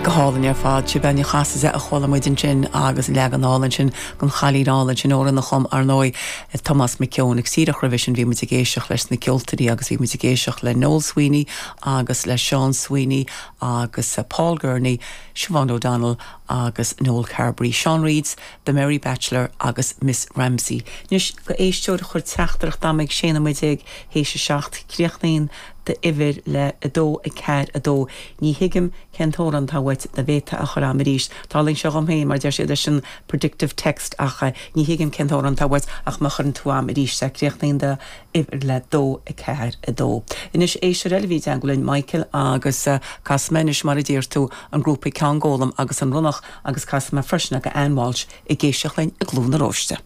Go hálainn ar fad. Siobhán Ní Chasaide a chuala muid ansin agus leagan álainn sin den Chailín Álainn sin, amhrán a chum, ar ndóigh, Tomás Mac Eoin. Agus díreach roimhe sin bhí muid ag éisteacht leis na ceoltóirí agus bhí muid ag éisteacht le Noel Sweeney agus le Seán Sweeney agus Paul Gurney, Siobhán O'Donnell agus Noel Carberry, Sean Reid's The Merry Bachelor agus Miss Ramsey. Anois, go éisteoir a chuir teachtaireacht a'm ag 16 nóiméad théis a 7, críochnaíonn d'uimhir le 2, 4, 2. Ní thuigim cén t-amhrán atá uait, dá bhféadfá a chur a'm arís. Tarlaíonn sé dhom féin, mar deir siad leis an predictive text ach ní thuigim cén t-amhrán atá uait ach má chuireann tú a'm arís é, críochnaíonn d'uimhir le 2, 4, 2. Anois, éisteoir eile a bhí i dteangmháil linn, Michael, agus casfaidh mé anois, mar a deir tú, an grúpa Ceann Gólaim agus an Ronnach agus casfaidh mé freisin ag Ann Walsh ag éisteacht linn i gCluain na Róiste.